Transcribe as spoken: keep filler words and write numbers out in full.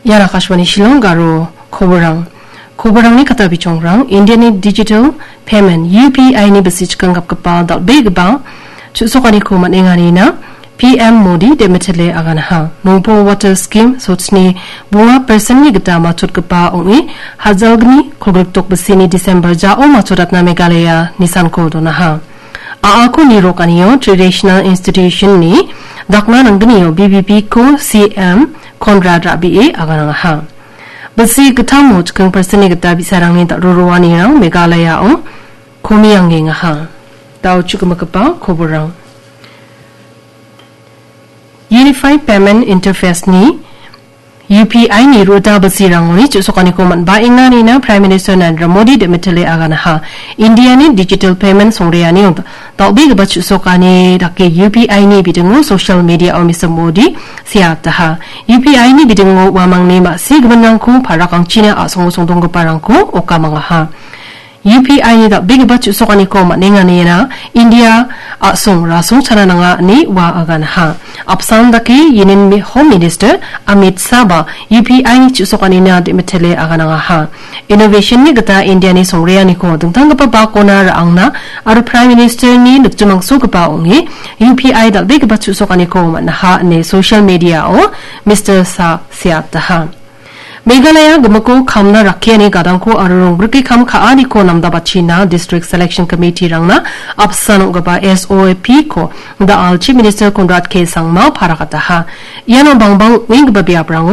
Ian Akashvani Shillong Garo koborang. Koborangni kata bichongrang, Indiani digital payment, U P I ni bisichkang gapgipa dal·begipa chu·sokaniko man·enganina P M Modi de·mitele aganaha. Mongpo Water Scheme sochni bunga percent-ni gita matchotgipa ong·e, hajalgni kolgrikdok bisini December jao matchotatna Meghalaya nisanko donaha. A A ko nirok anio traditional institution-ni dakna nanggnio B B P ko C M Conrad Rabie aganangaha. Bisi gitamo chikking percent-ni gita bi·sarangni dal·roroanirang Meghalayao komiangengaha. Dao chu·gimigipa koborang. Unified Payment Interface-ni U P I ni ruta bisirangoni chu·sokaniko man·baenganina Prime Minister Narendra Modi de·mitele aganaha. Indiani digital payment songreanio dal·begipa chu·sokani dake U P I ni bidingo social media-o Mister Modi seataha. U P I ni bidingo uamangni ma·si giminrangko parakangchina a·songo songdonggiparangko okamangaha. U P I ni dal·begipa chu·sokaniko man·enganina India a·song rasong chana nanga ine ua aganaha. Apsan dake Union Mi-, Home Minister Amit Shah ba U P I ni chu·sokanina de·mitele aganangaha. Innovation-ni gita Indiani songreaniko dingtanggipa bakona ra·angna aro Prime Minister-ni nikjimangsogipa ong·e U P I dal·begipa chu·sokaniko man·aha ine social media-o Mister Shah seataha. Meghalaya gimiko kamna rakkiani gadangko aro rongbrike kam ka·aniko namdabachina District Selection Committee-rangna apsan ong·gipa S O P-ko da·al Chief Minister Conrad K Sangma parakataha. Iano bangbang ong·enggipa biaprango